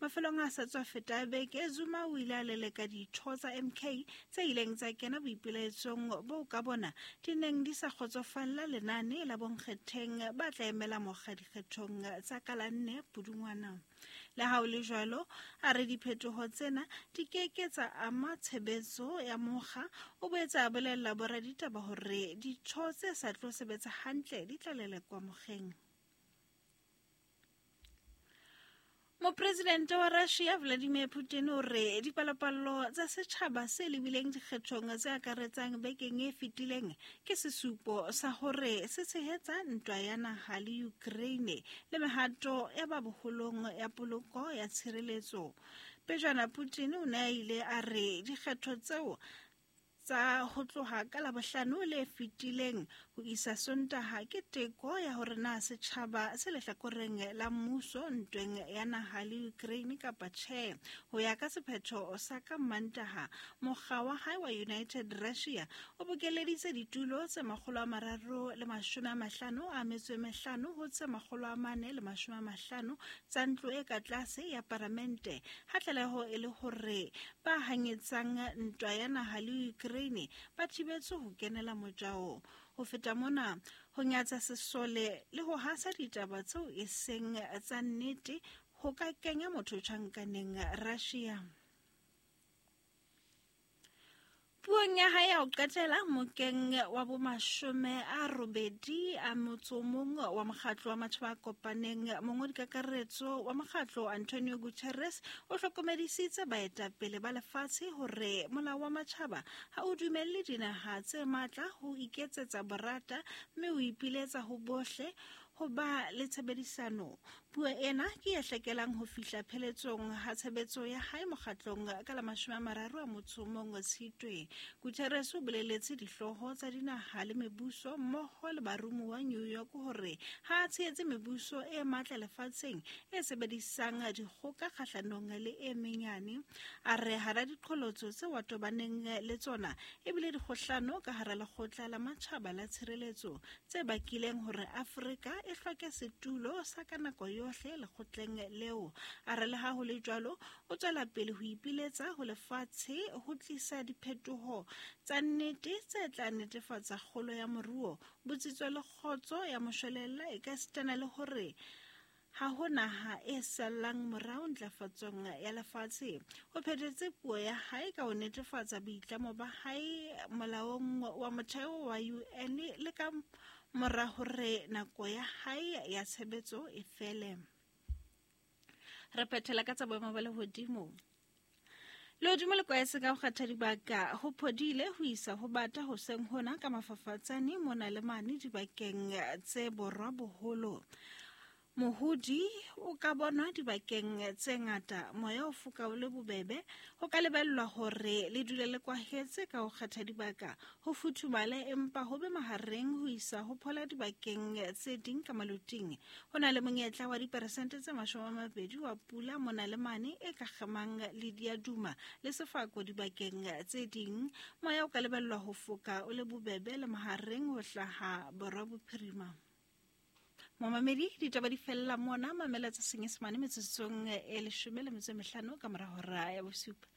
Mafelong a sa tswa feta beke, Zuma o ile a leleka ditho tsa MK tse ileng tsa kena boipelaetsong boo ka bona di neng di sa kgotsofalla lenane la bonkgetheng ba tla emela mokga dikgethong tsa ka la 4 Pudungwana. Le ha ho le jwalo, a re diphetoho tsena di ke ke tsa ama tshebetso ya mokga. O boetse a bolella boraditaba hore ditho tse sa tlo sebetsa hantle di tla lelekwa mokgeng. Mopresidente wa Russia Vladimir Putin o re dipalopalo tsa setjhaba se lebileng dikgethong tse akaretsang bekeng e fetileng ke sesupo sa hore se tshehetsa ntwa ya naha le Ukraine le mehato ya ba boholong ya poloko ya tshireletso. Pejana Putin o ne a ile a re dikgetho tseo tsa ho tloha ka Labohlano le fetileng ho isa Sontaha ke teko ya hore na setjhaba se lehlakoreng la mmuso ntweng ya naha le Ukraine kapa tjhe. Ho ya ka sephetho sa ka Mmantaha, mokga wa hae wa United Russia o bokelleditse ditulo tse 355 ho tse 450 tsa ntlo e ka tlase ya paramente, ha tlaleho e le hore ba hanyetsang ntwa ya naha le Ukraine ba thibetswe ho kenela mojao. Ho feta mona, ho nyatsa sesole le ho hasa ditaba tseo e seng tsa nnete ho ka kenya motho tjhankaneng Russia. Puong ya hae ya ho qetela mokeng wa bomashome a robedi a motso o mong wa mokgatlo wa matjhaba a kopaneng, mongodi kakaretso wa mokgatlo Antonio Guterres o hlokomedisitse baetapele ba lefatshe hore molao wa matjhaba ha o dumelle dinaha tse matla ho iketsetsa borata mme o ipiletsa ho bohle ho ba le tshebedisano. Puo ena ke e hlekelang ho fihla pheletsong ha tshebetso ya hae mokgatlong ka la 31 Tshitwe. Guterres o boleletse dihlooho tsa dinaha le mebuso mmoho le baromuwa New York hore ha a tshehetse mebuso e matla lefatsheng e sebedisang dikgoka kgahlanong le e menyane. A re hara diqholotso tseo a tobaneng le tsona ebile dikgohlano ka hara lekgotla la matjhaba la tshireletso tse bakileng hore Afrika e hloke setulo sa ka nako yohle lekgotleng leo. A re le ha ho le jwalo, o tswela pele ho ipiletsa ho lefatshe ho tlisa diphetoho tsa nnete tse tla netefatsa kgolo ya moruo, botsitso le kgotso ya moshwelella ekasitana le hore ha ho naha e sallang morao ntlafatsong ya lefatshe. O phethetse puo ya hae ka ho netefatsa boitlamo ba hae molaong wa motheo wa UN le ka mora hore nako ya hae ya tshebetso e fele. Re phethela ka tsa boemo ba lehodimo. Lehodimo le kwaetse ka ho kgetha dibaka, ho phodile ho isa ho bata hoseng hona ka mafafatsane mona le mane dibakeng tse borwa boholo. Mohodi o ka bonwa dibakeng tse ngata, moya o foka o le bobebe, ho ka lebellwa hore le dule le kwahetse ka ho kgetha dibaka, ho futhumale empa ho be mahareng ho isa ho phola dibakeng tse ding ka maloting. Ho na le monyetla wa diperesente tse 20 wa pula mona le mane e ka kgemang le diaduma le sefako dibakeng tse ding. Moya o ka lebellwa ho foka o le bobebe le mahareng ho hlaha borwa bophirima. Momamedi, ditaba di fella mona, mamela tsa Senyesemane metsotsong e 15 ka mora hora ya 7.